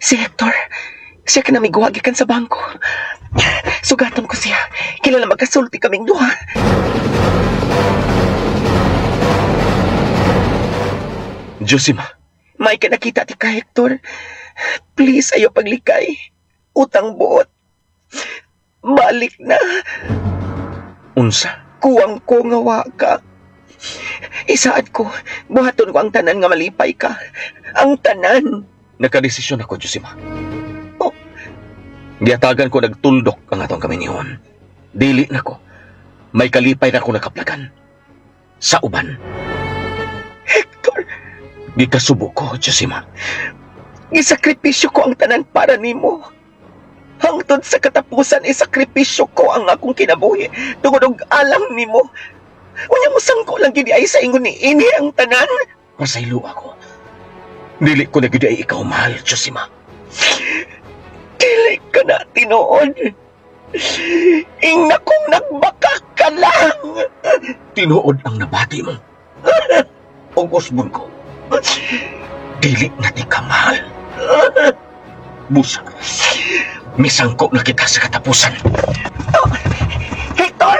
Si Hector. Siya ka namiguha gikan sa bangko. Sugaton ko siya. Kilala magkasulti kaming duha. Josima, May ka nakita ti ka, Hector. Please, ayo paglikay. Utang buot. Balik na. Unsa? Kuwang ko nga wa ka. Isaad ko, buhaton ko ang tanan nga malipay ka. Ang tanan. Nakadesisyon ako, Josima. Oh. Giatagan ko nagtuldok ang atong kaminihon. Dili na ko. May kalipay na ko nakaplagan. Sa uban. Hector, Gikasubo ko, Josima. Gisakripisyo ko ang tanan para nimo. Hangtod sa katapusan, isakripisyo ko ang akong kinabuhi tungod og alang nimo. Unya mo sangko lang gid ay sa ingon ni ini ang tanan. Pasaylo ako. Dili ko na gid ay ikaw mahal, Josima. Dili ka na tinuod. Ingna kong nagbaka ka lang. Tinuod ang nabati mo. Og usbon ko. Dili na ti ka mahal. Busa. Misangko na kita sa katapusan. Hector!